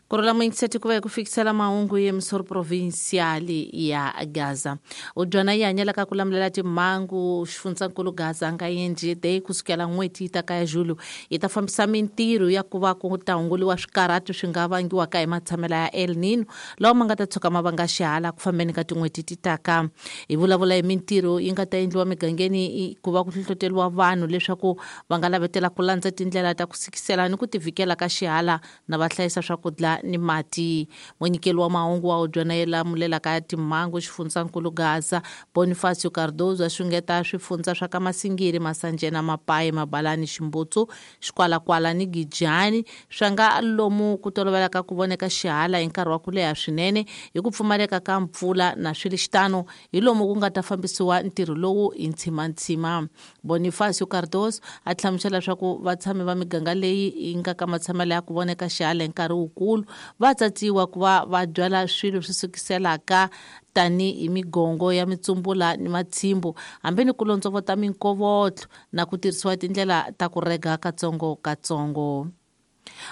Ku rhula muyingiseti ku va hi ku fikisela mahungu ya misoro provincial ya Gaza. Udyana yi hanyelaka ku lamulela timhangu xifundzankulu Gaza nga yendli day kusukela n'hweti yi ta ka ya Julho yi ta fambisa mintirho ya ku va ku ta hunguliwa swikarhatu swi nga vangiwaka hi matshamela ya El Nino lawa ma nga ta tshuka ma vanga xihala ku fambeni ka tin'hweti ti taka. Hi vulavula hi mintirho yi nga ta endliwa migangeni ku va ku hlohloteriwa vanhu leswaku va nga lavetela ku landza tindlela ta ku sikisela ni ku tivhikela ka xihala na va hlayisa swakudya ni mati. Munyikeli wa mahungu wa hudyana ye lamulelaka timhangu xifundzankulu Gaza Bonifacio Cardozo a xungeta swifundza swa ka Masingiri, Masanjena, Mapayi, Mabalani, Ximbutsu, Xikwalakwala ni Gijani swa nga lomu ku tolovelaka ku voneka xihala hi nkarhi wa ku leha swinene hi ku pfumaleka ka mpfula na swi ri xitano hi lomu ku nga ta fambisiwa ntirho lowu hi ntshimantshima. Bonifacio Cardozo a hlamusela leswaku vatshami va miganga leyi yi nga ka matshamelo ya ku voneka xihala hi nkarhi wukulu va tsatsiwa ku va va byala swilo swi sukiselaka tanihi migongo ya mitsumbula ni matshimbu hambi ni ku londzovota minkovotlo na ku tirhisiwa tindlela ta ku rega katsongo-katsongo.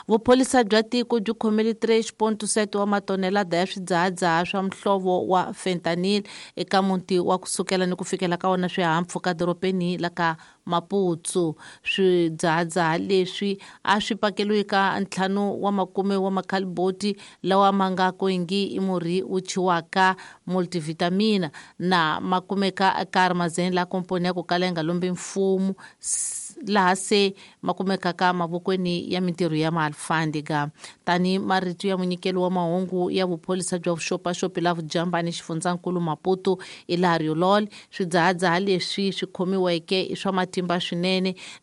Vupholisa bya tiko byi khomile 3.7 wa matonelada ya swidzahadzaha swa muhlovo wa fentanyl eka muti wa kusukela ni ku fikela ka wona swihahampfhuka dorobeni la ka Maputo. Swidzahadzaha leswi a swi pakeriwe ka ntlhanu wa makume wa makhaliboti lawa ma nga kwengi i murhi wu thyiwaka multivitamina na ma kumeka eka Armazém la komponi ya ku kala yi nga lombi mfumo laha se ma kumekaka mavokweni ya mintirho ya maalfandega. Tani marito ya munyikeli wa mahungu ya vupholisa bya vuxopaxopi la Vujambani xifundzankulu Maputo Ilario Lol, swidzahadzaha leswi swi khomiweke i swa matimba swinene.